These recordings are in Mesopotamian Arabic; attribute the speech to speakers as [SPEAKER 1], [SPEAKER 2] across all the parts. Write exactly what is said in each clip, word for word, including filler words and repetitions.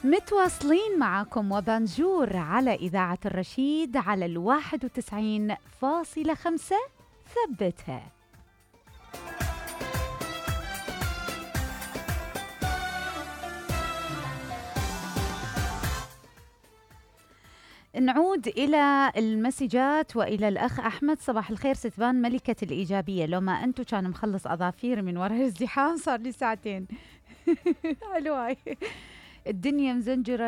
[SPEAKER 1] متواصلين معاكم وبانجور على إذاعة الرشيد على الواحد وتسعين فاصلة خمسة. ثبتها. نعود إلى المسجات وإلى الأخ أحمد. صباح الخير ستبان ملكة الإيجابية، لو ما أنتو كان مخلص أظافير من وراء الازدحام صار لي ساعتين. حلوة. الدنيا مزنجرة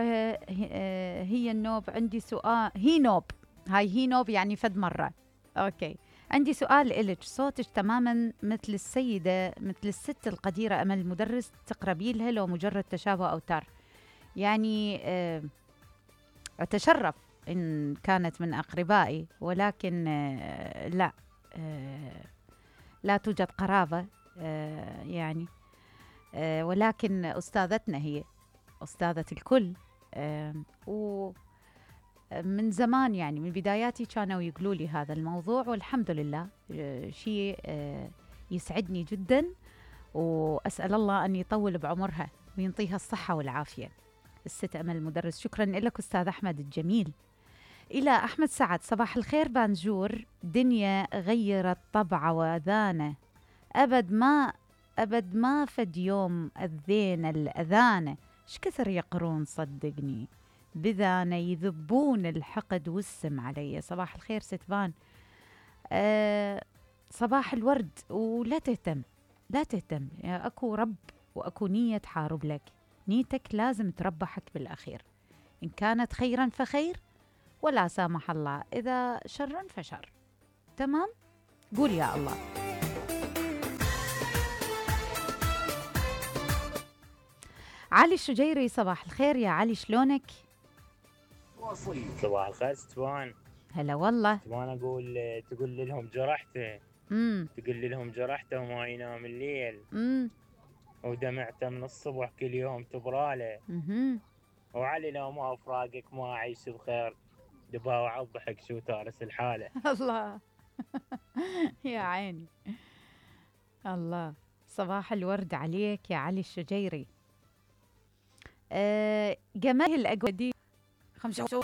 [SPEAKER 1] هي النوب. عندي سؤال. هي نوب، هاي هي نوب يعني فد مرة. أوكي، عندي سؤال إلك. صوتك تماما مثل السيدة، مثل الست القديرة أمل المدرس، تقربي لها لو مجرد تشابه أو تار. يعني أه أتشرف إن كانت من أقربائي، ولكن أه لا أه لا توجد قرابة أه يعني أه ولكن أستاذتنا، هي أستاذة الكل. أه ومن زمان يعني من بداياتي كانوا يقولوا لي هذا الموضوع، والحمد لله أه شيء أه يسعدني جدا، وأسأل الله أن يطول بعمرها وينطيها الصحة والعافية. الست أمل المدرس. شكرا لك أستاذ أحمد الجميل. إلى أحمد سعد. صباح الخير بانجور. دنيا غيرت طبعه وأذانه، أبد ما أبد ما فد يوم أذينا الأذانة، ايش كثر يقرون صدقني بذانة يذبون الحقد والسم علي. صباح الخير ستبان. أه صباح الورد. ولا تهتم لا تهتم، أكو رب وأكو نية تحارب لك، نيتك لازم تربحك بالأخير، إن كانت خيرا فخير، ولا سامح الله إذا شرا فشر. تمام؟ قول يا الله. علي الشجيري. صباح الخير يا علي، شلونك؟
[SPEAKER 2] صباح الخير ستوان.
[SPEAKER 1] هلا والله.
[SPEAKER 2] ستوان أقول تقول لهم جرحته.
[SPEAKER 1] امم
[SPEAKER 2] تقول لهم جرحته وما ينام الليل.
[SPEAKER 1] امم
[SPEAKER 2] ودمعته من الصبح كل يوم تبراله.
[SPEAKER 1] امم
[SPEAKER 2] وعلي لو ما أفراقك ما أعيش بخير، دباوع الضحك شو تارس الحالة.
[SPEAKER 1] الله. يا عيني. الله. صباح الورد عليك يا علي الشجيري. أه جمال الأقودي. خمسة